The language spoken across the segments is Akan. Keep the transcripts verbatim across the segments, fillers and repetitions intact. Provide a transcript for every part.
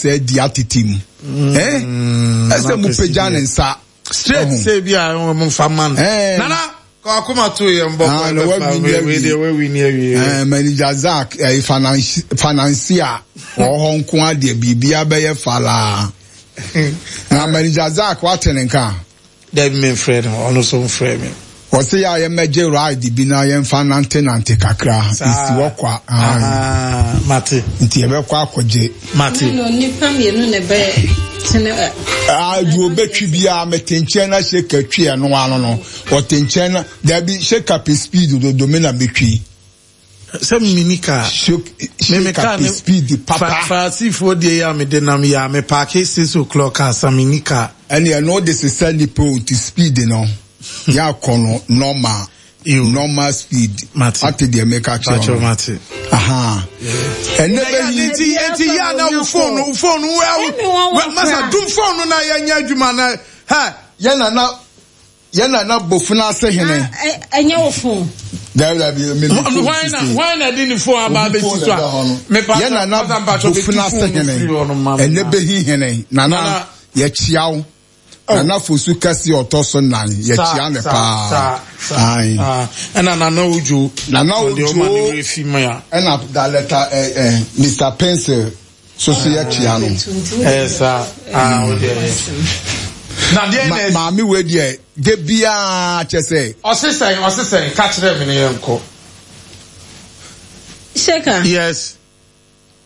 asa adi atete mu. Eh? Ɛsɛ mo pagya ne nsa. Straight sɛ bi a mo fa ma no. Nana kɔ akoma to yɛ mbɔ Ah, na wawi ni awie. Wawi ni awie. Eh, manager Zach, eh, financier, wɔ hɔ nko adeɛ biribiara bɛyɛ falaa. Na manager Zach wate ne nka. Dabi, mi nfrɛ no, ɔno nso nfrɛ mi. Wɔsi yɛ a yɛmɛgye ride bi na yɛmfa nante nante kakra. Saa. Esi hɔ kwa. Ah, Ah, mate. Nti yɛbɛkɔ akɔgye. Mate. No, nipa mmienu na ɛbɛ tene ɛ. Ah, deɛ obɛtwi biara, mete nkyɛn na hyɛ twi ɛno ano no, ɔte nkyɛn na dabi hyɛ pɛ speed dodo, me na metwi. Sɛ mini kaa. Hyɛ pɛ speed papa. Faasifoɔ deɛ yɛ a mede nam yɛ a me park six o'clock ansa, mini kaa. Ɛne ɛno de sesa nipa o, nti speed no yɛ akɔ no normal. Yo. Normal speed. Mate. Ate deɛ meka kyerɛ Pakyɛ no. Mate. Aha, ɛnɛ bɛyi. Nti nti yɛ ana wo phone wo phone wo Ɛmi wɔn wɔ masa kora. dum phone no na yɛnyɛ adwuma na ha. Yɛ nana, yɛ nana bofuna ase hene. Ɛnyɛ wo phone. Dabi, dabi, mi mi phone Hwan na sisi. hwan na di ne phone aba Obi abɛsi phone so na a ɛda hɔ no. mepa Yɛ nana bofuna ase hene, ɛnɛ bɛhi hene nana. Nana. Yɛkyia wo, Nana Fosu kɛse ɔtɔ so nan, yɛkyia ne paa. Aye. Ɛna Nana Ojo. Nana Ɔde ɔma ne Ojo. werɛ fi mu a. Ɛna dalɛta ɛ ɛ Mister Pencil soso, yɛkyia no. Ɛyɛ saa ah, o deɛ na deɛ Ma- na ɛsi. Maame wei deɛ, de biara kyɛ sɛ Ɔse sɛn? Ɔse sɛn? Ka kyerɛ me ne yɛn kɔ. Sheka. Yes.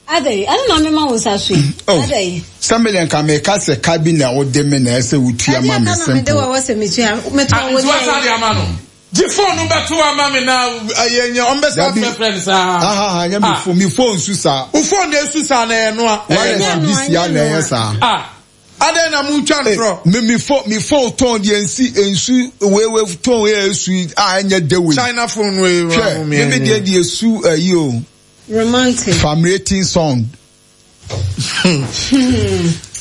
Adai, ade na mema wo nsa so yi. Oh. Adai. Sɛ me deɛ nka meka sɛ ka bi na wode me na ɛsɛ wotua ma Ade me. aka na mede Simple. wa wɔ sɛ metua. Metɔ wo Nti wasa de deɛ. ama no, gye phone no bɛto ama me na yɛnyɛ ɔmbɛsa Dabi. frɛfrɛ no saa. Ahaha, nyɛ me Ah. phone, me phone su saa. Wo phone de esu saa na ɛyɛ noa. Wireless Ɛnyɛ bi no, sia ɛnyɛ na ɛyɛ no. saa. Ah, adɛn na motwa ntorɔ? Me me phone me phone tɔn deɛ nsi nsu wewe tɔn yɛ esu yi a ɛnyɛ de wei. China phone wei. Hwɛ, me me deɛ deɛ esu ɛyi o. Romantic. Famulating song.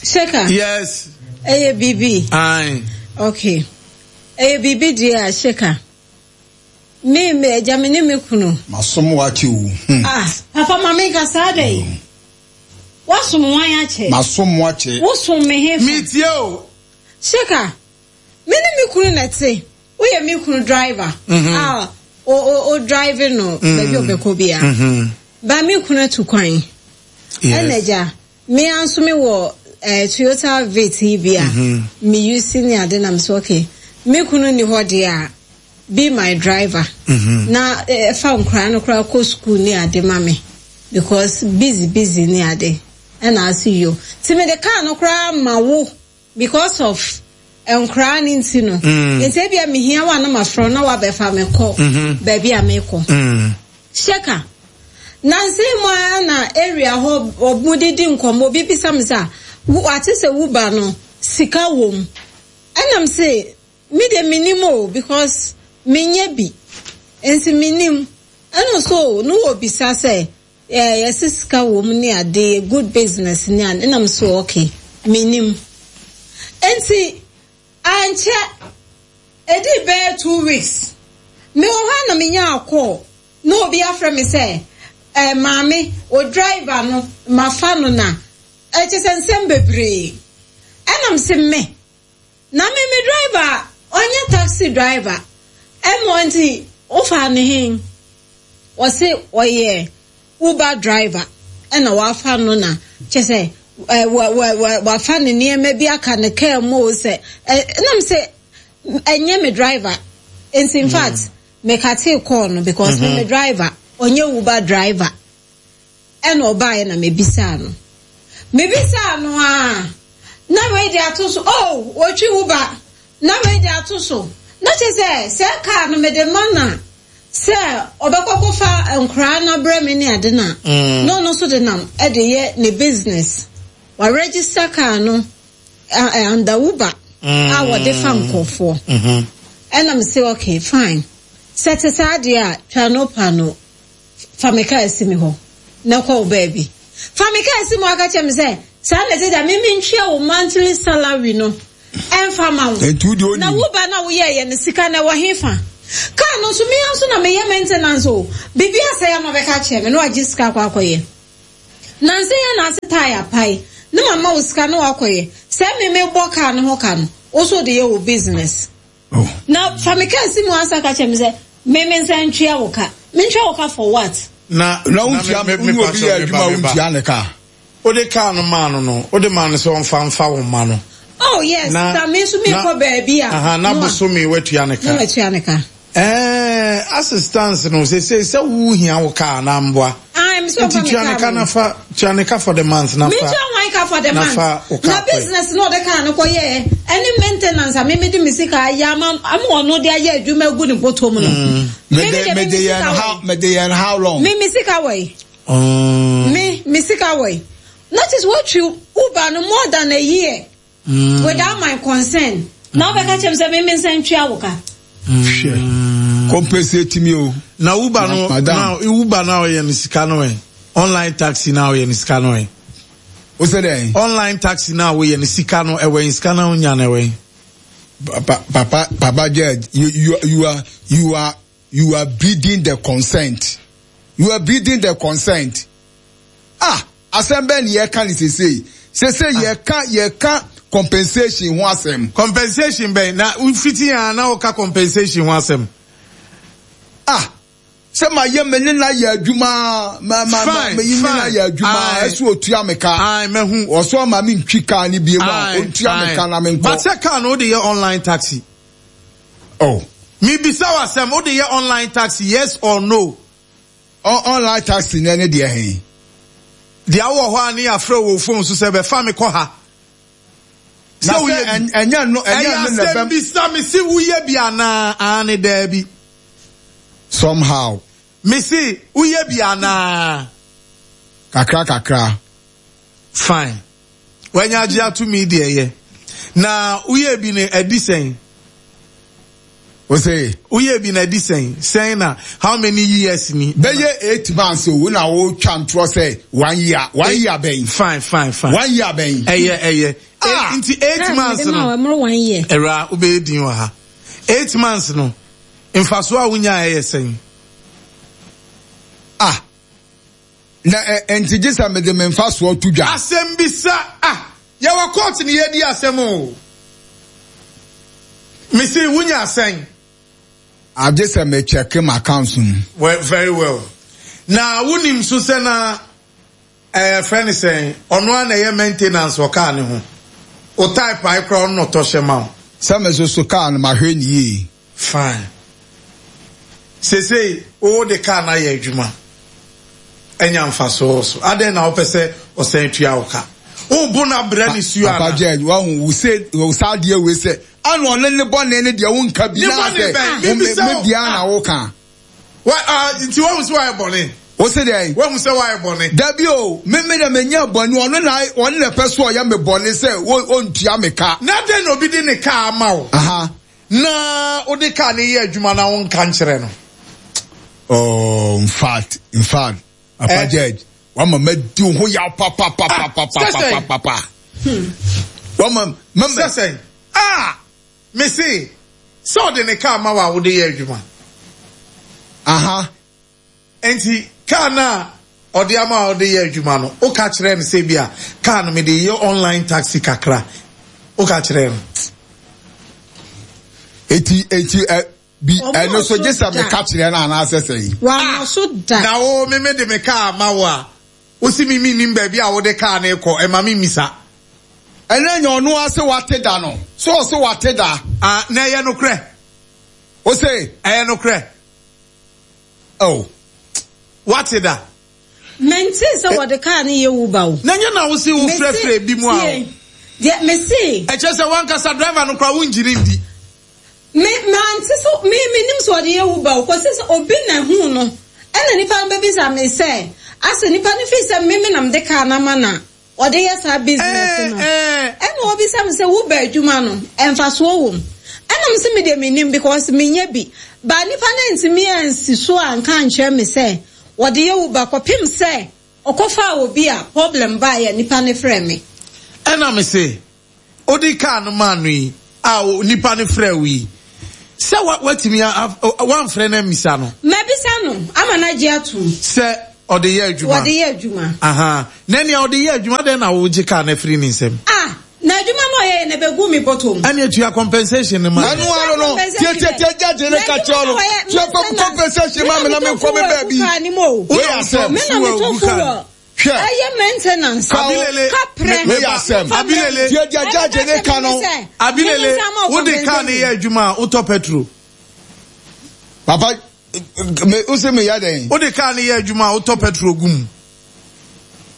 Sheka. Yes. Ɛyɛ biribi. Aye. Okay. Ɛyɛ biribi deɛ a, Sheka. Me me agya, me ne me kunu. Masom wakye o. Hmm. Ah, papa, ma me nka saa dɛ. Wasom wan akyɛ? Masom wakye. Wosom me he fa? Metie o. Sheka, me ne me kunu na ɛte. Woyɛ me kunu driver. A o o o drive no baabi a ɔbɛkɔ bia. Ba me kunu atu kwan. Ɛna agya, me ara nso me wɔ eh, Toyota Vitz yi bi a me use ne ade nam so. Okay, me kunu ni hɔ deɛ a, be my driver. Na eh, fa nkwaraa no koraa kɔ school ne ade ma me because busy busy ne ade. Ɛna ase yo. Ti me de car no koraa ma wo because of nkwaraa ne nti no. Nti ebia mehia wa na mafrɛ na wabɛfa me kɔ baabi a mekɔ. Sheka. Nansi mu a na area hɔ ɔmo didi nkɔmɔ, obi bisa mi sɛ wate sɛ wuba no sika wɔ mu, ɛnam sɛ mi de mi nim o because mi nye bi nti mi nim. Ɛna so no wɔ bisa sɛ ɛɛ yɛsi sika wɔ mu ne ade, good business ne ade, ɛnam so okay, mi nim. Nti ankyɛ edi bɛyɛ two weeks mi wɔ hɔ a na mi nya akɔ na obi afrɛ mi sɛ ɛɛ maame o, driver no mafa no na ɛkyɛ sɛ nsɛm bebree. Ɛnam sɛ me na me me driver ɔnyɛ taxi driver ɛmɔ, nti wofa ne hen? Wɔsi ɔyɛ Uber driver ɛna wafa no na kyɛ sɛ ɛ wɔ wɔ wɔ wafa ne nneɛma bi aka ne kaa mu o, sɛ ɛ ɛnam sɛ ɛnyɛ me driver. Nti in fact mekate call no because me me driver ɔnyɛ Uber driver. Ɛna ɔbaeɛ na mebisaa no mebisaa no a na wei de ato so, oh, otwi Uber, na wei de ato so na kyerɛ sɛ sɛ kaa no mede ma na sɛ ɔbɛkɔ kɔfa nkoraa no abrɛ me ne ade na na ɔno nso de nam ɛde yɛ ne business, wa register kaa no under Uber a wɔde fa nkɔfoɔ. Ɛna m sɛ okay, fine, sɛ te saa deɛ a, twa no pa no, fa me kaa si mi hɔ na kɔ wo baabi. Fa me kaa si mu aka kyerɛ me sɛ saa na ɛte da me mentwea wo monthly salary no ɛmfa ma wo. Nti wo deɛ na onim. Wo ba na woyɛɛyɛ no, sika na ɛwɔ he fa? Kaa no nso mea nso na meyɛ maintenance o, biribi asɛe ama bɛka kyerɛ me na wagye sika akɔ akɔyɛ. Nansa yɛ na ase tyre apae Ne mama wo sika na wakɔyɛ. Sɛ me me bɔ car no ho ka no, wo so de yɛ wo business. Oh. Na fa me car si mu ansa ka kyerɛ me sɛ me me nsa ntwea wo ka. Me ntwea wo ka for what? Na na wontua me me obi yɛ adwuma wontua ne ka. Wode car no maa no no, wode maa no sɛ ɔmfa mfa wo mma no. Oh yes, na me nso me kɔ baabi a. Aha, na bosome watua ne ka. Na watua ne ka. Eh, assistance no sɛ sɛ sɛ wo hia wo car na mboa. Ah, me so fa me car. Nti ka na fa, tua ne ka for the month na fa. Me tua wan ka for the month. Na fa wo car. Na business no de car no kɔ yɛ. Any maintenance a me me de me sika ya ma am ono de ayɛ adwuma gu ne bɔtɔ mu no. Me de me de yɛn how me de yɛn how long? Me me sika wɔ. Me me sika wɔ. Notice what you Uber no more than a year. Mm. Without my consent. Now mm. bɛka kyerɛ me sɛ me me nsa ntwea wo ka. Hwɛ. Compensate me o. Na Uber no na Uber na ɔyɛ ne sika no ɛ. Online taxi na ɔyɛ ne sika no ɛ. O sɛ dɛn? Online taxi na ɔyɛ ne sika no ɛwɛ sika na onya na ɛwɛ. Papa papa papa judge, you you you are you are you are breeding the consent. You are breeding the consent. Ah, asɛm bɛn ni yɛka ne sesei. Sesei yɛka yɛka compensation ho asɛm. Compensation bɛn na fiti ya na woka compensation ho asɛm. Ah, sɛ ma yɛ me ne na yɛ adwuma ma ma ma me ne na yɛ adwuma ɛso otua me ka. Ai mehu. Ɔso ama me ntwi car ni bie mu a otua me ka na me nkɔ. But sɛ car no de yɛ online taxi. Oh. Me bisa wasɛm wo de yɛ online taxi, yes or no? Online taxi na ne deɛ he. Deɛ wɔ hɔ a ne yɛafrɛ wɔ phone so sɛ bɛfa me kɔ ha. Na sɛ ɛnyɛ no ɛnyɛ no na bɛm. Ɛyɛ bisa me si woyɛ bi anaa ane daabi. Somehow. Me si woyɛ bi anaa. Kakra kakra. Fine. Wanya agye ato mi deɛ yɛ. Na woyɛ bi ne adi sɛn? Ose. Woyɛ bi na adi sɛn? Sɛn na how many years ni? Bɛyɛ eight months o na wo twa ntorɔ sɛ one year, one year bɛn. Fine, fine, fine. One year bɛn. Ɛyɛ ɛyɛ. Ah. Nti eight months no. One year. Ɛwura wobɛyɛ din wɔ ha. Eight months no. Mfaso a wonya ɛyɛ sɛn? Ah. Na nti gye sɛ mede me mfasoɔ to dwa. Asɛm bisa ah. Yɛwɔ court ni yɛdi asɛm o. Mesi wunya asɛn. Agye sɛ me check my accounts mu. Well, very well. Na wunim so sɛ na eh friend sɛn ɔno a na ɛyɛ maintenance wɔ car ne ho. O type ai kora ɔno na ɔtɔ hyɛ ma wo. Sɛ me so so car no mahwɛ ne yie. Fine. Sesei wo de car na yɛ adwuma. Enya mfaso so. Adɛn na wopɛ sɛ ɔsɛn tua wo ka? Wo bo na brɛ ne suo ana? Papa Judge, wa hu wo se wo sa deɛ we sɛ ana ɔne ne bɔne ne deɛ wo nka bi na sɛ me bia na wo ka. Wa ah nti wa hu sɛ wayɛ bɔne. Wo se deɛ? Wa hu sɛ wayɛ bɔne. Dabi o, me me na me nya bɔne ɔno na ɔno na pɛ so ɔyɛ me bɔne sɛ wo ontua me ka. Na dɛn na obi de ne ka ama wo? Aha. Na wo de ka ne yɛ adwuma na wo nka nkyerɛ no. Oh, in fact, in fact, Papa eh? Judge, wama madi ho yaw papa papa papa papa papa. Wama mama. Sɛsɛn. Ah, me se, sɛ ɔde ne kaa ma wa wo de yɛ adwuma. Aha. Enti kaa na ɔde ama ɔde yɛ adwuma no, wo ka kyerɛ no sɛ bia kaa no me de yɛ online taxi kakra. Wo ka kyerɛ no. Eti eti eh bi ɛno so gye sɛ meka kyerɛ no anaasɛ sɛn. Wama so da. Na wo me me de me kaa ma wo a, wo si me me nim baabi a wo de kaa no kɔ, ɛma me misa. Ɛnɛ nyɛ ɔno ase wate da no. So ɔse wate da. Ah, na ɛyɛ nokorɛ. Wo se? Ɛyɛ nokorɛ. Oh. Wate da. Mente sɛ wɔde kaa no yɛ Uber o. Na nyɛ na wo se wo frɛfrɛ bi mu a. Deɛ me se. Ɛkyɛ sɛ wankasa driver no koraa wongyini ndi. Me mante so me me nim so ɔde yɛ Uber o kɔsi sɛ obi na hu no ɛna nipa no bɛbisa me sɛ asɛ nipa no fi sɛ me me nam de kaa na ma na ɔde yɛ saa business no ɛna obisa me sɛ Uber adwuma no ɛmfasoɔ wɔ mu ɛna me sɛ me deɛ me nim because me nyɛ bi ba nipa no ntumi ansi so a nka nkyerɛ me sɛ ɔde yɛ Uber kɔpem sɛ ɔkɔfa obi a problem ba yɛ nipa no frɛ me ɛna me se odi kaa no ma no yi a nipa no frɛ wo yi sɛ watumi wamfrɛ no amisa no mabisa no ama no agye atom sɛ Ɔde yɛ adwuma. Wɔde yɛ adwuma. Aha. Na nea ɔde yɛ adwuma dɛn na wogye kaa no afiri ne nsam? Ah, na adwuma no ɔyɛ yɛ na ɛbɛgu me bɔtɔ mu. Ɛne atua compensation no ma. Ɛno ano no, tietietie gyagye ne ka kyerɛ no. Tua compensation ma me na menkɔ me baabi. Wei asɛm. Me na metɔ fuel. Hwɛ. Ɛyɛ maintenance. Abilele. Kaprɛ. Wei asɛm. Abilele. Tie deɛ gyagye ne ka no. Abilele, wode kaa no yɛ adwuma a wotɔ petrol. Papa, me wose meyɛ dɛn? Wode kaa no yɛ adwuma a wotɔ petrol gu mu.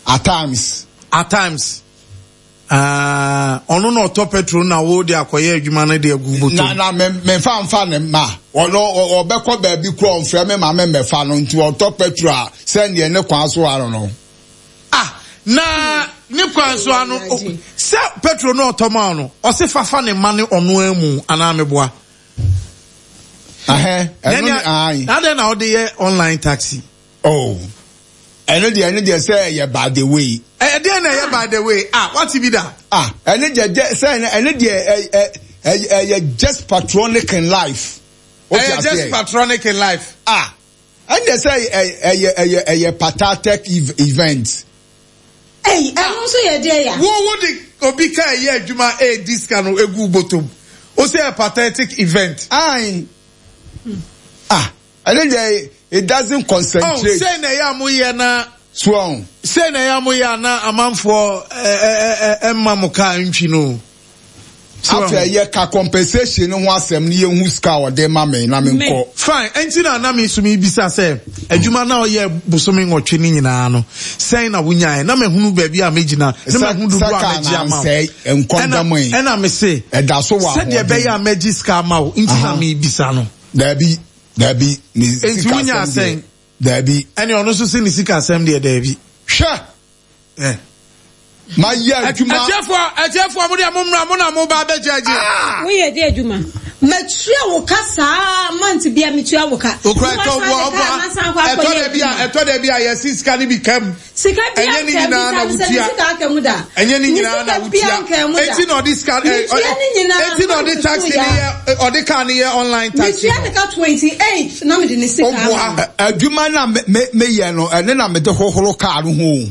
At times. At times. Ah, ɔno na ɔtɔ petrol na wo de akɔyɛ adwuma no de agu bɔtɔ. Na na me memfa mfa ne ma. Ɔno ɔbɛkɔ baabi kura ɔmfrɛ me ma me mmɛfa no nti ɔtɔ petrol a sɛndeɛ ne kwan so ano no. Ah, na ne kwan so ano sɛ petrol no ɔtɔ ma no ɔse fafa ne ma ne ɔno amu anaa meboa. Ahɛ, ɛno ne ayi. Na dɛn na ɔde yɛ online taxi? Oh. Ɛno deɛ ɛno deɛ sɛ ɛyɛ by the way. Ɛdeɛ na ɛyɛ by the way. Ah, wate bi da? Ah, ɛno deɛ sɛ ɛno deɛ ɛyɛ ɛyɛ just patronic in life. Ɛyɛ just patronic in life. Ah, ɛno deɛ sɛ ɛyɛ ɛyɛ ɛyɛ pathetic event. Ɛyi, ɛno nso yɛ deɛ ya. Wo wo de obi ka ɛyɛ adwuma ɛyɛ sika no egu bɔtɔm. O sɛ ɛyɛ pathetic event. Ayi. Ah, ɛno deɛ it doesn't concentrate. Oh, sɛ na ɛyɛ a moyɛ na. So. Sɛ na ɛyɛ a moyɛ a na amanfoɔ ɛ ɛ ɛ ɛmma mo kaa ntwi no. Afei yɛ ka compensation ho asɛm ne yɛhu sika a ɔde ma me na menkɔ. Fine, ɛnti na na me nso mebisa sɛ adwuma na ɔyɛ bosome nwɔtwe ne nyinaa no sɛn na wonyaeɛ na mahunu baabi a mɛgyina na mahunu dodoɔ a mɛgye ama wo. Ɛna me se ɛda so wɔ sɛdeɛ ɛbɛyɛ a mɛgye sika ama wo nti na mebisa no. Daabi, daabi, ne sika asɛm deɛ. Daabi. Ɛne ɔno nso se ne sika asɛm deɛ daabi. Hwɛ! Eh. Ma yɛ adwuma. Ɛtiɛfoɔ, ɛtiɛfoɔ, mo deɛ mo mmra, mo na mo ba abɛgye agye. Ah! Woyɛ de adwuma. Matua wo ka saa month bia metua wo ka. Okura ɛtɔ wɔ ɔbɔ ɛtɔ dɛ bi a ɛtɔ dɛ bi a yɛsi sika ne bi kam. Sika bi Ɛnyɛ ne nyinaa na wotua. Sika aka mu da. Ɛnyɛ ne nyinaa na wotua. Eti na ɔde sika ɛ eti na ɔde taxi ne yɛ ɔde car ne yɛ online taxi. Metua ne ka twenty eight na mede ne sika ama. Adwuma na me me meyɛ no ɛne na mede hohoro car no ho.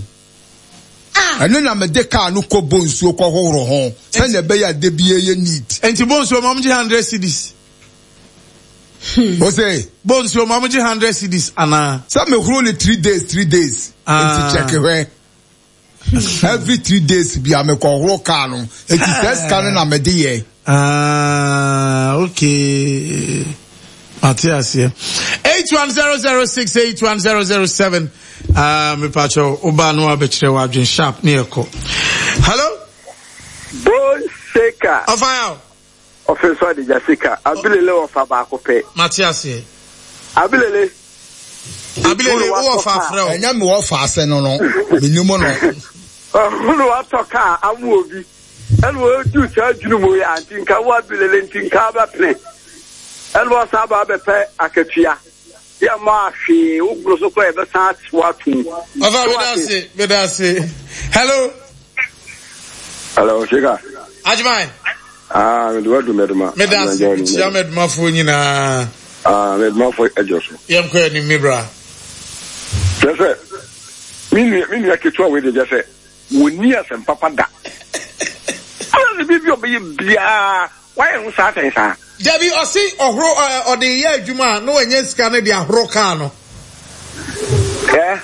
Ɛno na mede car no kɔ bonsuo kɔ hohoro ho sɛnea ɛbɛyɛ ade bi yɛ neat. Nti bonsuo ma ɔmo gye hundred cedis. O se. Bonsuo ma ɔmo gye hundred cedis anaa. Sɛ mehoro ne three days three days. Nti check hwɛ. Every three days bi a mekɔ horo car no. Nti sɛ sika no na mede yɛ. Ah, okay. Mate aseɛ. eight one zero zero six eight one zero zero seven. Ah, me pacho oba no abɛkyerɛ w'adwen sharp ne ɛkɔ. Hello? Bone shaker. Ɔfa yaw. Ɔfin so adija sika. Abilele ɔfa baako pɛ. Mate aseɛ. Abilele. Abilele wo ɔfa frɛ o. Ɛnyɛ me wɔfa ase no no. Menim no. Ɔhunu watɔ kaa amu obi. Ɛna wɔdu saa adwene mu yɛ anti nka wo abilele nti nka abɛpene. Ɛna wɔsan aba abɛpɛ akatua. Yɛ ma ahwee wo boro so kora yɛbɛsan atew atom. Ɔfa meda ase meda ase. Hello. Hello, Shika. Ajimai. Ah, me do meduma. Meda ase mekyia medumafoɔ nyinaa. Ah, medumafoɔ adwo so. Yɛnkɔ anim me bra. Kyerɛ sɛ me nua me nua ketewa wei de kyerɛ sɛ wɔnni asɛm papa da. Ana ne biribi ɔbɛyɛ biara wayɛ ho saa sɛn saa. Dabi ɔse ɔhoro ɔde yɛ adwuma a na wanya sika no de ahoro kaa no. Ɛ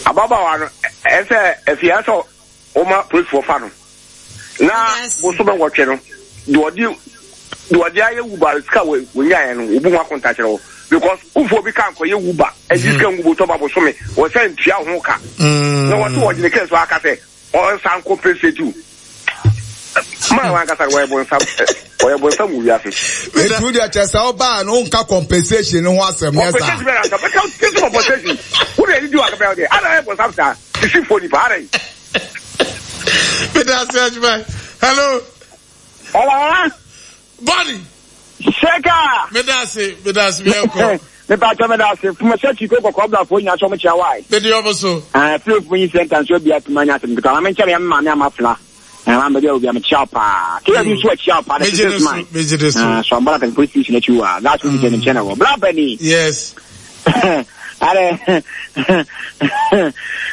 ababaawa no ɛsɛ afia sɛ wɔma polisifoɔ fa no na bosome nwɔtwe no deɛ ɔde deɛ ɔde ayɛ wuba sika wɔnyaeɛ no wɔbu ho akonta kyerɛ wo because wofoɔ bi ka nkɔyɛ wuba ɛgye sika ngu botɔ ba bosome wɔsɛ ntua ho ka na wɔse wɔgyene kɛ so aka sɛ ɔnsan compensate wo maa wankasa wɔyɛ bonsam wɔyɛ bonsam wɔ wiase. Etu deɛ kyɛ sɛ ɔbaa no nka compensation no ho asɛm nyɛ saa. Compensation bɛrɛ anka bɛka tete compensation wo deɛ didi wɔ akabɛn deɛ ada yɛ bonsam saa sisi fo nipa ada yi. Meda ase adwuma. Hello. Hello. Bonnie. Sheka. Meda ase meda ase mi ɛkɔ. Mepa kyɛ meda ase fuma sɛ kyiko kɔkɔɔ blafoɔ nyinaa sɛ ɔmo kyia wae. Mede ɔmo so. Ah, fie fo yi sɛ ntanso bi atuma nya asɛm ketewa. Maame nkyɛn me maame ama fla. Ah, maame bi a obi am kyia paa. Kila bi so akyia paa. Megye ne so, megye ne so. Ah, so ambala kan police station akyi wa. That's what you can channel. Bla bani. Yes. Are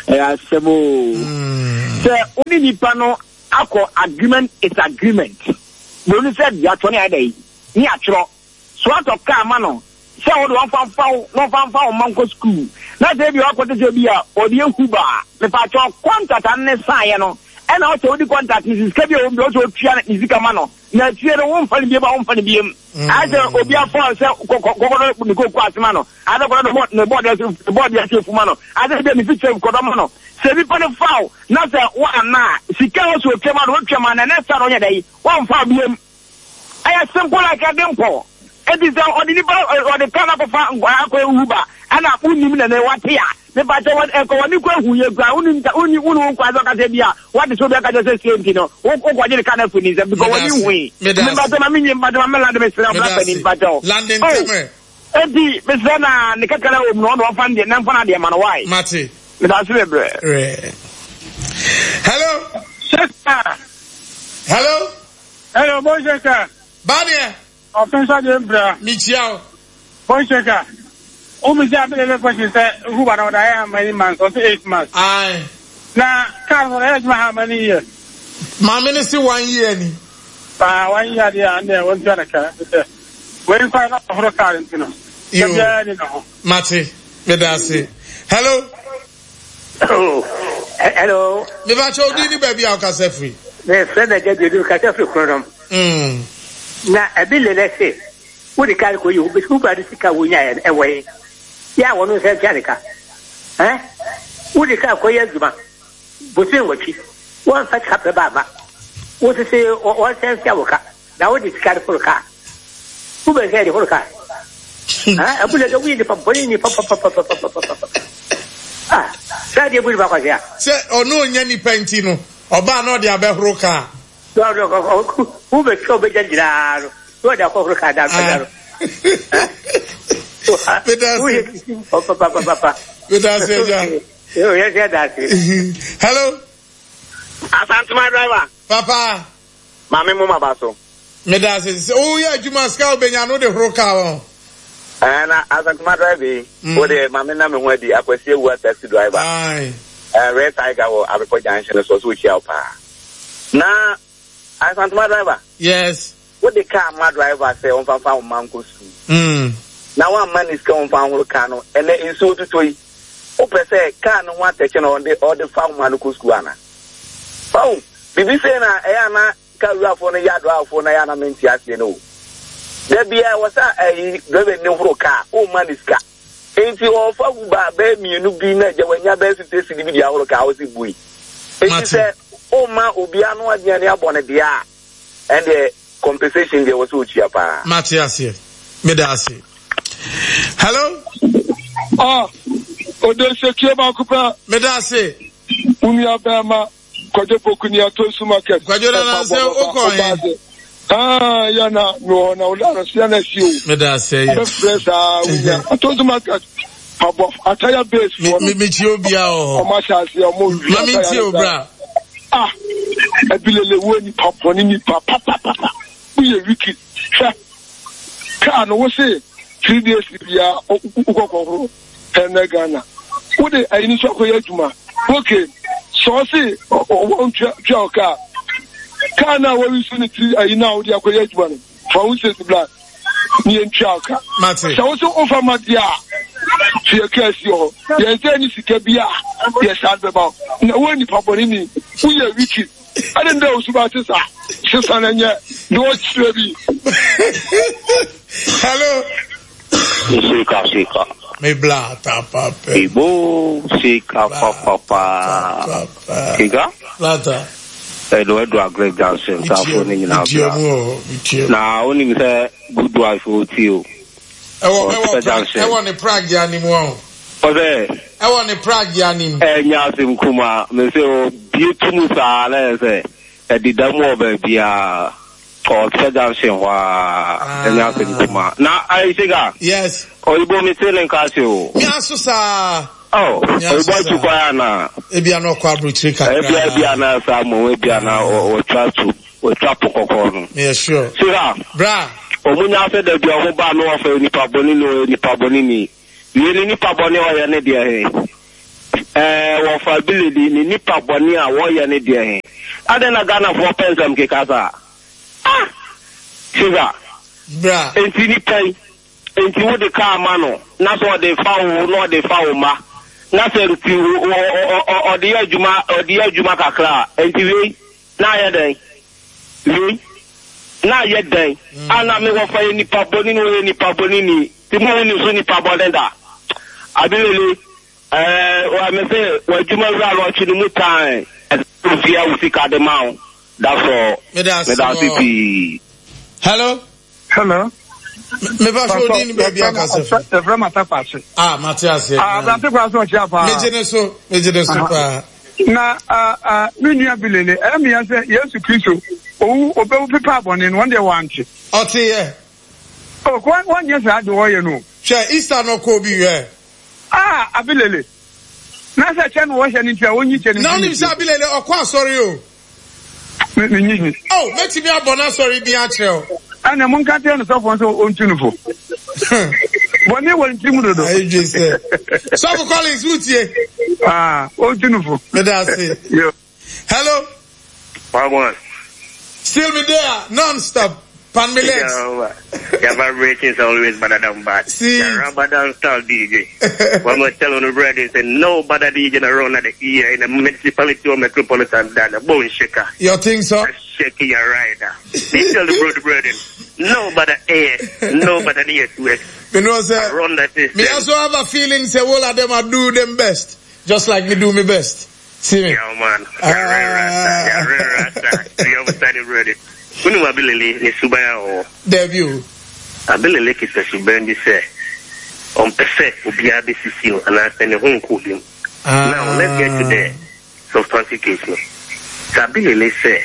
ɛyɛ asɛm o. Sɛ wo ne nipa no akɔ agreement is agreement. Buroni sɛ yɛatwerɛ ne ayɛ dɛ ne yɛatwerɛ. So atɔ kaa ma no sɛ wode wɔmfa mfa wo na ɔmfa mfa wo mma nkɔ sukuu. Na sɛ ebi wakɔte sɛ bi a ɔde ehu ba a, mepaakyɛw contract ano ne saeɛ no ɛna ɔsɛ wodi contract no sika bi a wɔm bi ɔsɛ otua ne sika ma no. Na akyire no womfa no biem a womfa no biem. Ayɛ sɛ obi afa sɛ kɔkɔdɔ ne koko ase ma no. Ayɛ sɛ kɔdɔ ne bɔɔde ase ne bɔɔde ase efu ma no. Ayɛ sɛ bi ne fikyɛ kɔdɔ ma no. Sɛ nipa no faw na sɛ woanna a sika a ɔsɛ otua ma no wotua ma no na next time ɔnyɛ dɛ wɔmfa biem. Ɛyɛ simple like a dimple. Enti sɛ ɔde nipa ɔde kaa no akɔfa akɔ ehu ba ɛna wonim na ne wate a mepa kyɛ wɔ ɛkɔ wɔne kɔ ehu yɛ kura wonim woni woni wo nkwa sɛ ɔkasa bi a wate sɛ obi aka kyɛ sɛ sie nti no wokɔgye ne kaa no afiri ne nsam because wɔne hui. Mepa kyɛ ma menye mepa kyɛ ma me lande mesrɛ ɔbra pani mepa kyɛ Lande ntɛmɛ. Enti mesrɛ na ne kakra wɔ mu no ɔno ɔmfa ne deɛ na mfa no adeɛ ma no why. Mate. Meda ase bebree. Hello. Sheka. Hello. Hello, bon Sheka. Badeɛ. Ɔfɛnsa deɛ mbra. Mekyia wo. Bon Sheka. Wo mi sɛ abɛlɛ question sɛ Uber na ɔda yɛ how many months? Ɔsɛ eight months. Aye. Na car no ɔda yɛ adwuma how many years? Maame ne se one year ni. Paa one year deɛ a ɛnna wɔn tua ne ka sɛ wei nkwa na ɔhoro car nti no. Yo. Biara ni ne ho. Mate. Meda ase. Hello. Oh, hello. Mepa kyɛ odi ni baabi a ɔkasa firi. Me frɛ na gya dudu kasa firi kronom. Mm. Na ebi lele se wo de kar ko yi wo ba de sika wo nya e wɔ yi. Ya wo no sɛ tia ne ka. Eh? Wo de kar ko yɛ adwuma. Bosin wɔtwi. Wɔn fa sika pɛ ba ma. Wo sese wɔn sɛ tia wo ka. Na wo de sika de foro ka. Wo bɛ sɛ de foro ka. Ah, abu lele wo yi nipa bɔne ni pa pa pa pa pa pa pa. Ah, sɛ de bu nipa kwase a. Sɛ ɔno onya nipa nti no, ɔbaa na ɔde abɛhoro ka. No no wo bɛ twɛ ɔbɛgya nyinaa no na ɔde akɔhoro ka da da no. Medase. Medase agya. Yɛ sɛ dase. Hello. Asantuma driver. Papa. Maame mo ma ba so. Medase. Sɛ woyɛ adwuma sika wobɛnya no de horo ka wɔn. Eh, na Asantuma driver yi, wo de maame na me ho adi akwasi ewu taxi driver. Aye. Eh, Red Tiger wɔ Abepɔ Junction so so wohyia wo paa. Na Asantuma driver. Yes. Wo de car ma driver sɛ ɔmfa fa wo ma nkɔ sukuu. Mm. Na wamma ne sika ɔmfa nhoro car no, ɛnɛ nsuo tutɔ yi. Wopɛ sɛ car no ho atɛkyɛ na ɔde ɔde fa wo ma no kɔ sukuu ana? Ɔn, bibi sei na ɛyɛ ana car wurafoɔ no yɛ adriverfoɔ no ɛyɛ ana mente aseɛ no o. Da biara wɔ sɛ ɛyi driver ni horo car, womma ne sika. Enti ɔfa Uber bɛyɛ mmienu bi na agya wanya bɛyɛ fifty cedi bi de ahoro car ɔsi bui. Enti sɛ womma obi ano aduane abɔ ne deɛ a, ɛndeɛ compensation deɛ wɔ sɛ otua paa. Mate aseɛ. Meda ase. Hello. Ah, Odensekie baako pɛ. Meda ase. Wo nua bɛrima Kwadwo Poku ni Atonsu market. Kwadwo nana sɛ wokɔ he? Ah, ya na mi wɔ na woda no so ya na si o. Meda ase yɛ. Bɛfrɛ saa wonya. Atonsu market. Pabɔ ataya base fo. Me me tie obi a wɔ hɔ. Ɔmo ahyɛ ase ɔmo wi. Ma me tie obra. Ah, ebilele wo nipa bɔne nipa papapapa. Woyɛ wiki. Hwɛ. Kaa no wo se three days bia wokɔkɔhoro ɛnɛ Ghana. Wode ayi no so akɔyɛ adwuma. Okay. Sɛ ɔse wɔn tua tua wo kaa. Kaa no a wɔyi so ne tiri ayi no a wode akɔyɛ adwuma no. Fa wo sesi bla ne yɛntua wo ka. Mate. Sɛ wo se wofa ma deɛ a fie kaa si hɔ. Yɛn sɛ ne sika bi a yɛsan bɛma wo. Na wo nipa bɔne ni. Woyɛ wiki. Ɛne ndɛ wo suba te saa. Sesa na nyɛ na ɔkyerɛ bi. Hello. Sika sika. Me bla ta pa pe. Ibo sika pa pa pa. Sika? Plata. Edo Edo Agre Johnson safo ne nyina bra. Na onim sɛ good wife o ti o. Ewo ewo ewo ne Prague ya ni mu o. Ose. Ewo ne Prague ya ni mu. Enya asem kuma me se o bie tumu saa na se edida mu oba bia. Ɔsɛ junction hɔ a ɛnyɛ asɛm kuma na ayi sika. Yes. Oyibo mi se ne nka se o. Mi aso saa. Oh, oyibo atu kwan ana. Ebi ana ɔkɔ aburukyiri kakra. Ebi ebi ana saa mo ebi ana ɔtwa tu ɔtwa po kɔkɔɔ no. Yeah sure. Sika. Bra. Ɔmo nya asɛ dɛbi ɔmo ba no ɔfɛ nipa bɔne ni nipa bɔne ni. Wei ne nipa bɔne a ɔyɛ ne deɛ he? Ɛɛ wɔfa Abileli ne nipa bɔne a wɔyɛ ne deɛ he? Adɛn na Ghanafoɔ pɛ nsɛm keka saa? Ah! Sugar. Bra. Enti nipa yi, enti wode kaa ma no, na sɛ ɔde fa wo na ɔde fa wo mma, na sɛ nti ɔde yɛ adwuma, ɔde yɛ adwuma kakra a, enti wei na ayɛ dɛn? Wei na ayɛ dɛn? Mm. Ana me wɔfa yɛ nipa bɔne ni, ɔyɛ nipa bɔne ni. Ti mo hu ne so nipa bɔne da. Abilele, ɛɛ, wa me se w'adwuma wura no ɔtwe ne mu tan. Ɛsɛ ofia wo sika de ma wo. That's all. Meda ase pii. Hello. Hello. Me ba so di ni baby akasa fi. Efra mata kwase. Ah, mate ase. Ah, abrante kwase o chia pa. Me gye ne so, me gye ne so pa. Na ah ah me nua bilele, eh me ya se Yesu Kristo owu obewu pepa abɔne no, wɔn deɛ wɔante. Ɔte yɛ. Oh, wɔn wɔn nyɛ saa de wɔyɛ no. Hwɛ Easter no kɔ obi hwɛ. Ah, abilele. Na sɛ kyɛ no wɔhyɛ no nti a wɔnyi kyɛ no. Na wonim sɛ abilele ɔkɔ asɔre o. Me me nyi nyi. Oh, mɛtumi abɔ n'asɔre din akyerɛ wo. Ɛnna mo nka kyerɛ no sɔfoɔ sɛ ɔntu no fo. Bɔne wɔ ne tirim dodo. Ayi dwe sɛ. Sɔfo Collins wotie. Ah, ɔntu no fo. Meda ase. Hello. Wagwan. Still me there, non-stop. Pan me legs. Your vibrations are always better than bad. See. Your Ramadan style D J. One more tell on the brother say no better D J around at the ear in the municipality or metropolitan than a bone shaker. You think so? Shaky your rider. They tell the brother brother no better air, no better the S U S. You know, sir. Run that system. Me also have a feeling say all of them are do them best, just like me do me best. See me? Yeah, man. Yeah, right, rasta. You understand it, brother. When you Abilele ne suban o. Debut. Abilele kisa suban bi sɛ ɔmpɛ sɛ obiara bɛsisi no anaasɛ ne ho nkɔ obi mu. Now let's get to the substantive case no. Sɛ Abilele sɛ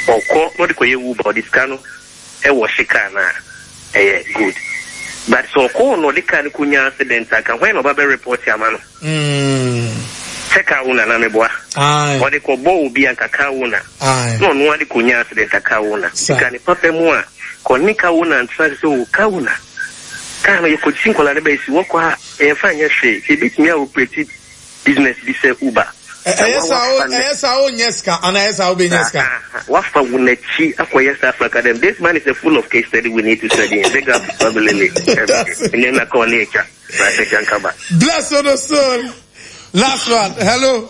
ɔkɔ na ɔde kɔyɛ Uber ɔde sika no ɛwɔ hye kaa no a ɛyɛ good. But sɛ ɔkɔ na ɔde kaa no kɔnya accident a ka hwan na ɔba bɛ report ama no? Sɛ car owner na meboa. Ɔde kɔbɔ obi anka car owner. Na ɔno ade kɔnya accident a car owner. Sika ne papa mu a kɔne car owner ntena sɛ o car owner. Car no yɛkɔgye nkɔla no bɛsi wɔkɔ a ɛyɛmfa nyɛ hwee. Sɛ ebɛtumi a operate business bi sɛ Uber. Ɛyɛ saa wonyɛ sika anaa ɛyɛ saa wobɛnya sika. Wafa wo n'akyi akɔyɛ saa Africa dem. This man is a full of case study we need to study him. Big up Abilele. Ɛnɛ na kɔɔ ne akya. Bless on the soul. Last one. Hello.